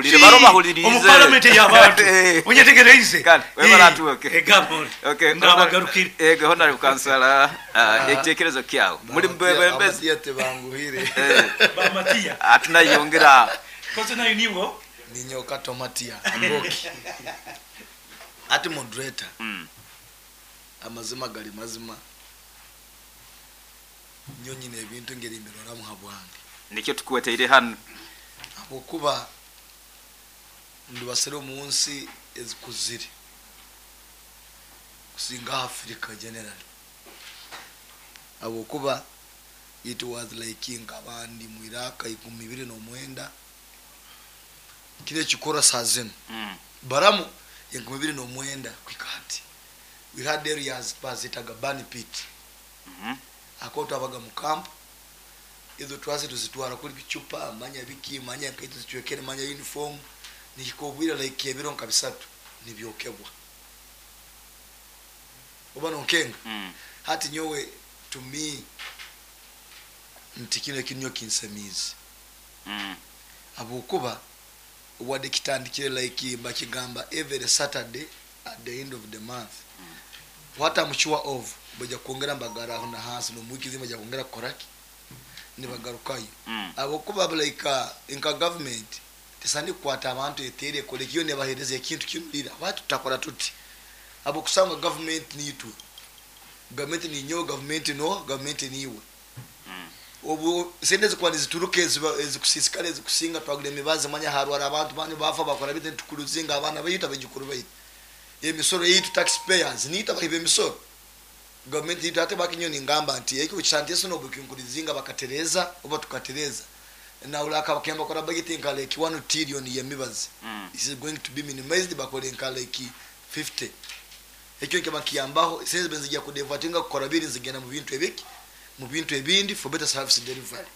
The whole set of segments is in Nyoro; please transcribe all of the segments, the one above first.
Bahulire, baro bahulirize. Omu parliament y'abantu. Onyetegereize. Kale, webale atuoke. Egamba. Okay, Nabagarukire. Ego, honorable kansala, ekitekerezo kyawe muri mbebembezi. Amatiya tebanguhire. Bamatiya. Atunayongera. Koze nayo niwo. Ninyoka tomatia ngoki ati moderator. Amazima gali mazima, nyo nyine ebintu ngeri mbiroramu habwange. Nikyo tukuweteire hano. Habwokuba ndibasire omu nsi ezikuzire kusinga Africa generally, habwokuba it was like nkabandi mu Iraka 2009 kile ekikora saa zinu. Baramu 2009 kwika hati we had areas bazitaga burn pit. Ako twabaga mu camp, ezo twase tuzitwara kuri bicupa, manya biki, manya nkaito zichwekere, manya uniform, nikikobwira like ebiro nka 3 nibyokebwa oba nonkenga. Hati nyowe to me nti kino ekinyo kinsemizi. Habwokuba wadde kitandikire like bakigamba every Saturday at the end of the month. What I'm sure of, bajja kwongera mbagaraho na hansi n'omwiki zima bajja kwongera kukoraki nibagarukayo. Habwokuba like nka government tesani kukwata abantu etere ekole kiyo nebahereza ekintu kinulira watu tutakora tuti, habwokusanga government niitwe, government ninyowe, government no government niiwe. Obu sente zikuba nizituruka ezikusisikara ezikusinga twagura emibazi, manya harwara abantu bani bafa bakora bite, nitukuruzinga abaana baitu abajukuru baitu emisoro yitu, taxpayers niitu abahiba emisoro government yitu. Ate bakinyo ningamba nti ekyo kisanteso nobukinkurizinga bakatereza oba tukatereza naulaka bakemba kora budget nka like 1 trillion yemibazi. Is going to be minimized, bakore nka like 50 ekyo nke bakiyambaho sente benzijja kudevatinga kukora biri zigenda mu bintu ebiki, mu bintu ebindi for better service delivery.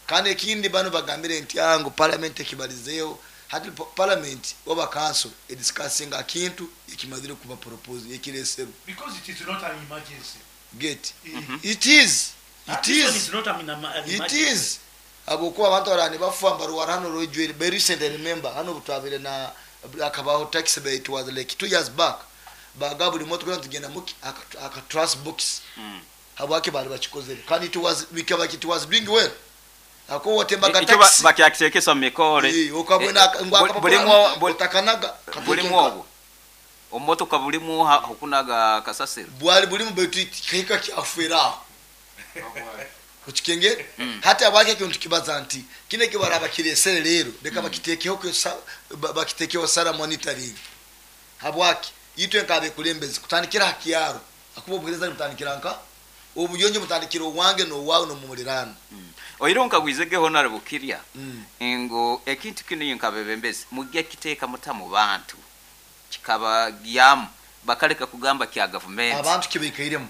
Kandi ekindi bano bagambire nti ango parliament ekibalizeyo hati parliament oba council ediscussing akintu ekimazire kuba propose ekireseru. Because it is not an emergency. Get it is it This one is is not an it emergency. is abokuba abantu barani bafa mbaruwara hano rojwere very recent. I remember hano butwabire na akabaho tax bay, it was like 2 years back, baga buli motoka tugenda muki aka trust box. Habwaki bali bakikozere kandi it was bikaba it was doing well ako watembaga Ekyo taxi. bakyakitekesa mu mikore. Okabwena Bulimu otakanaga. Bulimu obwo omumotoka bulimu okunaga kasasiro. Bwali bulimu betu kihika kyafera okikengere. Hati abwaki ekintu kibaza nti kino ekibara bakiresere leero leka bakiteekeho bakiteekeho sara monitoring. Habwaki itwe nkabekulembezi kutandikira ha kyaro akuba obuhereza mutandikira nka obuyonjo mutandikira owange n'owaawe n'omumuliraano. Oiro nkagwizegeho honorable Kirya ngo ekintu kino nkabebembezi mujja kiteeka muta mu bantu kikabagyamu bakaleka kugamba kya gavumenti. Abantu kibaikairemu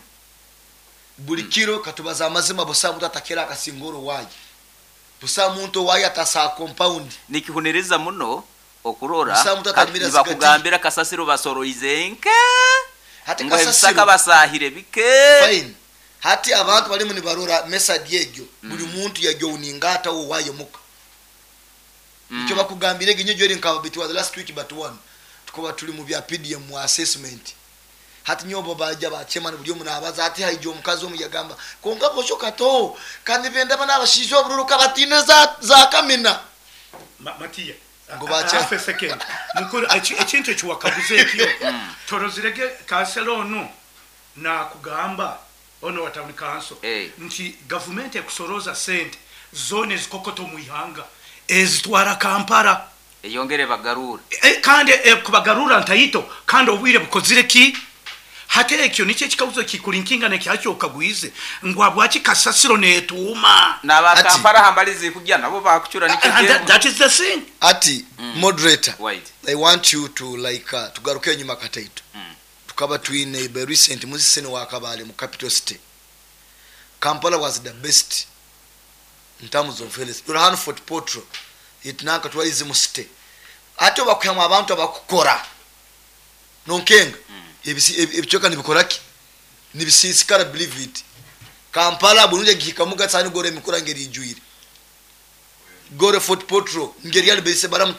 buli kiro katubaza amazima, busa muntu atakera akasingoro waaye, busa muntu owaaye atasa compound. Nikihuniriza muno okurora Busa muntu atamira zigati. Nibakugambira kasasiro basoroize nke hati ngo ebisaka kasasiro basahire bike. Fine, hati abantu balimu nibarora message egyo, buli muntu yajowuningata owaaye muka. Icyo bakugambire ginyo jori nkaba it was last week but one tukuba tuli mu bya PDM mu assessment, hati nyobo baja bachema buli omu nabaza ati haija omukazi omu yagamba konka bosho kato kandi benda bana abashijo obururuka batine za kamina. Matiya. Ngo bacha- Half a second. Mukuru ekintu ekiwakaguza ekyo torozirege kansela ono nakugamba ono wa town council nti gavumenti ekusoroza sente zona ezikokoto mu ihanga ezitwara Kampala. Eyongere bagarura. Kandi kubagarura ntayito kandi obwire bukozire ki hate ekyo nikyo ekikabuzo kikulinkinga nekyakyo okagwize ngu abwaki kasasiro netuuma. N'abakampala hambalizi kujja nabo bakucura nikyo. And that is the thing. Ati moderator, Wait. I want you to like tugaruke enyuma kataito. Tukaba twine by recent musisene wa Kabale mu capital city. Kampala was the best in terms of health. Tuli hano Fort Portal itinanka twalize mu city, ate bakuhamu abantu abakukora nonkenga ebicyoka nibikoraki nibisisikara, believe it. Kampala bulungi gihikamu gatsani gore emikura ngeri ijwire gore Fort Portal ngeri yali bese baramu.